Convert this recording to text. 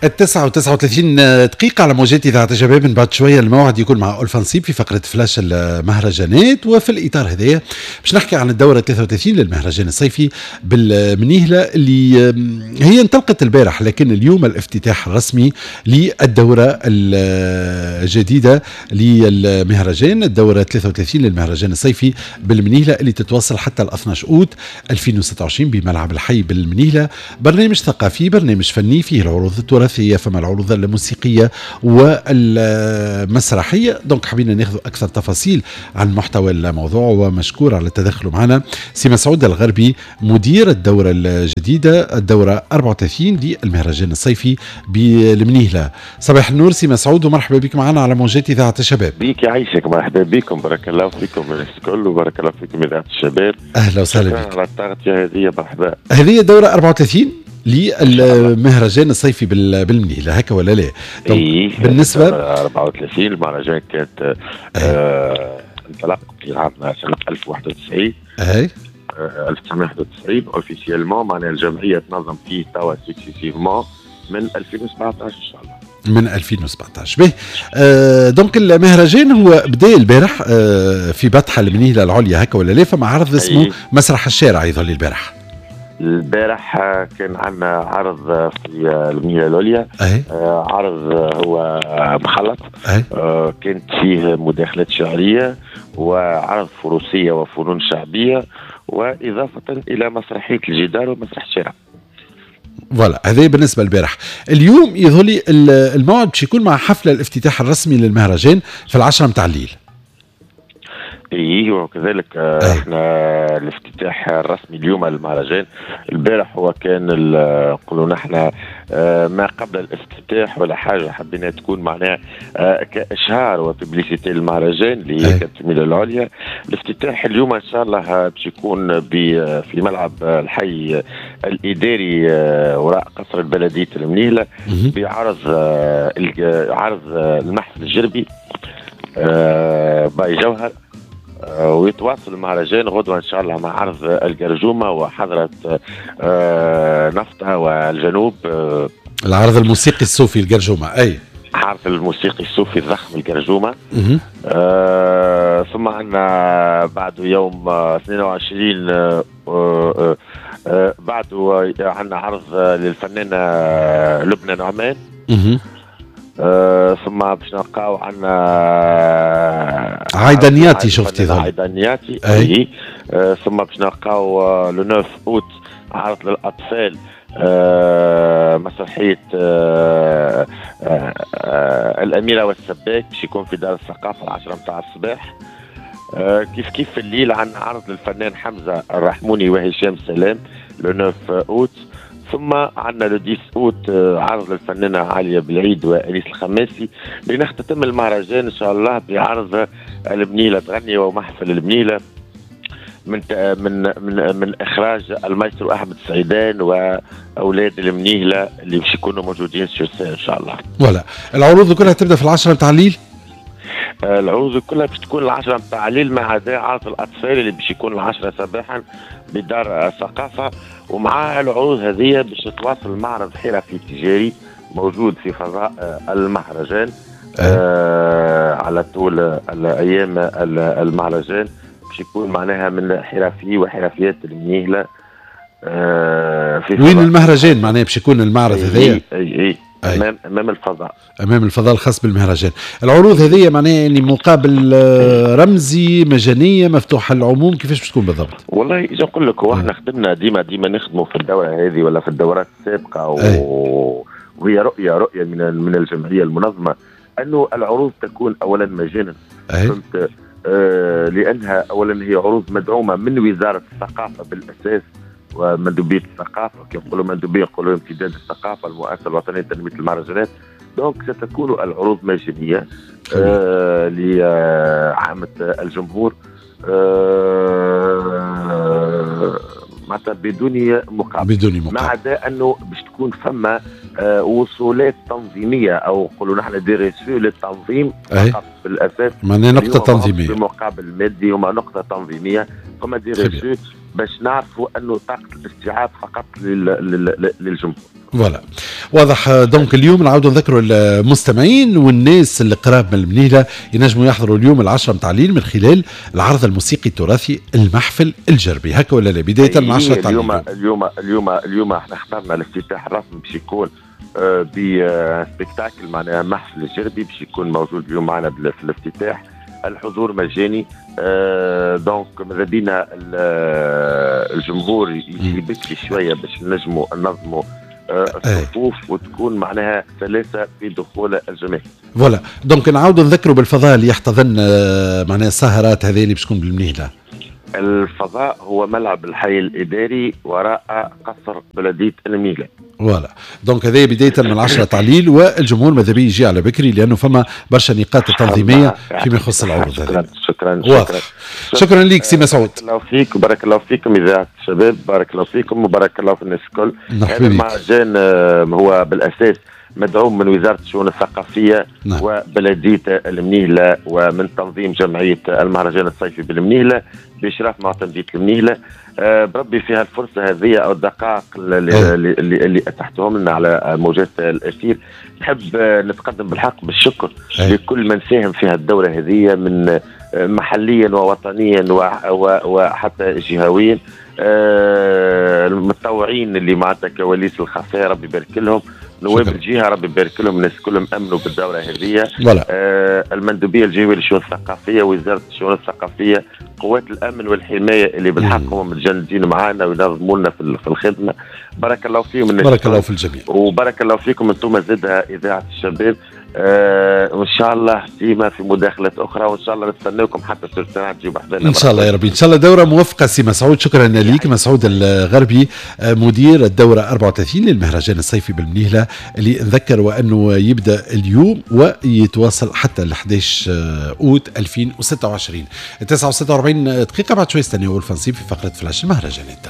9:39 على موجات إذاعة الشباب. من بعد شوية الموعد يكون مع ألفا نصيب في فقرة فلاش المهرجانات، وفي الإطار هذايا باش نحكي عن الدورة 33 للمهرجان الصيفي بالمنيهلة اللي هي انطلقت البارح، لكن اليوم الافتتاح الرسمي للدورة الجديدة للمهرجان، الدورة 33 للمهرجان الصيفي بالمنيهلة اللي تتواصل حتى ال 12 أوت 2026 بملعب الحي بالمنيهلة. برنامج ثقافي، برنامج فني، فيه العروض التراثية، فما العروض الموسيقية والمسرحية. donc حبينا ناخذ أكثر تفاصيل عن محتوى الموضوع، ومشكور على التدخل معنا سي مسعود الغربي مدير الدورة الجديدة، الدورة 34 للمهرجان الصيفي بالمنيهلة. صباح النور سي مسعود ومرحبا بك معنا على موجات إذاعة الشباب. بيك يعيشك، مرحبا بكم، بارك الله فيكم الكل وبارك الله فيكم إذاعة الشباب. أهلا وسهلا بك على التغطية هذه، مرحبا. هذه الدورة 34 للمهرجان الصيفي بالمنيهلة، هكا ولا لا؟ إيه، بالنسبة 34 المهرجان كانت انطلق في عام سنة 1091. اي 1991 officiellement، معناها الجمعية تنظم فيه توا successivement من 2017 ان شاء الله. من 2017 به. donc المهرجان هو بدا البارح في بطحة المنيهلة العليا، هكا ولا لا؟ فما عرض اسمه مسرح الشارع يظل البارح. البارح كان عندنا عرض في المنيهلة العليا، عرض هو مخلط، كانت فيه مداخلات شعرية وعرض فروسية وفنون شعبية، وإضافة إلى مسرحية الجدار ومسرح الشارع. voilà، هذا بالنسبة للبارح. اليوم يظهر لي الموعد باش يكون مع حفلة الافتتاح الرسمي للمهرجان في 10 متاع الليل. ايه، وكذلك احنا الافتتاح الرسمي اليوم للمهرجان. البارح هو كان نقولوا نحن ما قبل الافتتاح ولا حاجه، حبينا تكون معناها كاشهار و publicité للمهرجان اللي هي كانت في العليا. الافتتاح اليوم ان شاء الله باش يكون في ملعب الحي الاداري وراء قصر البلدية المنيهله بعرض عرض المحفل الجربي باي جوهر، ويتواصل المهرجان غدوة إن شاء الله مع عرض الجرجومة وحضرة نفطة والجنوب. العرض الموسيقي الصوفي الجرجومة، أي عرض الموسيقي الصوفي الضخم الجرجومة. ثم عندنا بعد يوم 22 بعده عندنا عرض للفنانة لبنى نعمان. ثم باش نلقاو عندنا عايدة نياتي، شفتي عايدة نياتي. اي. ثم باش نلقاو le 9 اوت عرض للاطفال، مسرحية الاميرة والسباك باش يكون في دار الثقافة 10 متاع الصباح. كيف كيف في الليل عندنا عرض للفنان حمزة الرحموني وهشام سلام le 9 اوت. ثم عندنا le 10 اوت عرض للفنانه عالية بالعيد وانيس الخماسي. لنختتم المهرجان ان شاء الله بعرض المنيهلة تغني ومحفل المنيهلة من من من من اخراج المايسترو احمد سعيدان واولاد المنيهلة اللي باش يكونوا موجودين sur scène ان شاء الله. voilà، العروض كلها تبدا في 10 تاع الليل؟ العروض كلها باش تكون 10 تاع الليل ما عدا عرض الاطفال اللي باش يكون 10 صباحا بدار الثقافة. ومع العروض هذه باش تواصل معرض حرفي تجاري موجود في فضاء المهرجان على طول الايام المهرجان، باش يكون معناها من حرفي وحرفيات المنيهلة. في وين المهرجان معناها باش يكون المعرض هذايا؟ اي امام الفضاء، امام الفضاء الخاص بالمهرجان. العروض هذه معناها يعني مقابل رمزي، مجانية، مفتوحة للعموم، كيفاش باش تكون بالضبط؟ والله اجا نقول لك، هو احنا خدمنا ديما نخدموا في الدورة هذه ولا في الدورات السابقة، وهي رؤية من الجمعية المنظمة انه العروض تكون اولا مجانا. فهمت؟ لانها اولا هي عروض مدعومة من وزارة الثقافة بالاساس ومندوبيه الثقافة، كي نقولوا مندوبيه نقولوا امتداد الثقافة، المؤسسة الوطنية لتنميه المهرجانات. donc ستكون العروض مجانية لعامة الجمهور، معناتها بدون مقابل. بدون مقابل، ما عدا انه باش تكون فما وصولات تنظيميه او نقولوا نحن des reçus للتنظيم فقط بالاساس، معناها نقطة تنظيميه بمقابل مادي، هما نقطة تنظيميه، فما des reçus باش نعرفوا انه طاقة الاستيعاب فقط للجمهور. voilà واضح. donc اليوم نعاودوا نذكروا المستمعين والناس اللي قراب من المنيهله ينجموا يحضروا اليوم 10 متاع الليل من خلال العرض الموسيقي التراثي المحفل الجربي، هكا ولا لا؟ بداية من 10 تاع اليوم. اليوم احنا اخترنا الافتتاح الرسمي باش يكون ب spectacle معناها محفل الجربي باش يكون موجود اليوم معنا في الافتتاح. الحضور مجاني، donc ماذا بينا الجمهور يجي بكري شوية باش نجموا ننظموا الصفوف وتكون معناها سلاسة في دخول الجماهير. voilà donc نعاودوا نذكروا بالفضاء اللي يحتضن معناها السهرات هذه اللي باش تكون بالمنيهله. الفضاء هو ملعب الحي الاداري وراء قصر بلديه المنيهله. voilà donc هذا بداية من 10 تاع الليل، والجمهور ماذا بيه يجي على بكري لانه فما برشا نقاط تنظيميه فيما يخص العروض هذه. شكرا شكرا شكرا لك سي مسعود. بارك الله فيك وبارك الله فيكم اذاعة الشباب، بارك الله فيكم وبارك الله في الناس الكل. هذا المهرجان هو بالاساس مدعوم من وزارة الشؤون الثقافية وبلدية المنيهلة ومن تنظيم جمعية المهرجان الصيفي بالمنيهلة بإشراف معتمدية المنيهلة. بربي فيها الفرصة هذه أو الدقائق اللي أتحتهم لنا على موجات الأثير، نحب نتقدم بالحق بالشكر لكل من ساهم في الدورة هذه من محليا ووطنيا وحتى جهويا. المتطوعين اللي معناتها كواليس الخفاء ربي يبارك لهم، نواب الجهة ربي يبارك لهم، الناس كلهم امنوا بالدوره هذه. المندوبيه الجهوية للشؤون الثقافية، وزارة الشؤون الثقافية، قوات الامن والحماية اللي بالحق هم متجندين معنا وينظموا لنا في الخدمة. بارك الله فيهم، بارك الله في الجميع، وبارك الله فيكم انتم زادها اذاعة الشباب. وان شاء الله ديما في مداخلات اخرى، وان شاء الله نستناكم حتى الساعة تجيب حذانا ان شاء الله يا ربي. ان شاء الله دوره موفقة سي مسعود. شكرا لك مسعود الغربي مدير الدورة 34 للمهرجان الصيفي بالمنيهله، اللي نذكر وانه يبدا اليوم ويتواصل حتى ال 11 اوت 2026. 9:46 دقيقة بعد شوي استناو الفنصيب في فقره فلاش المهرجانات.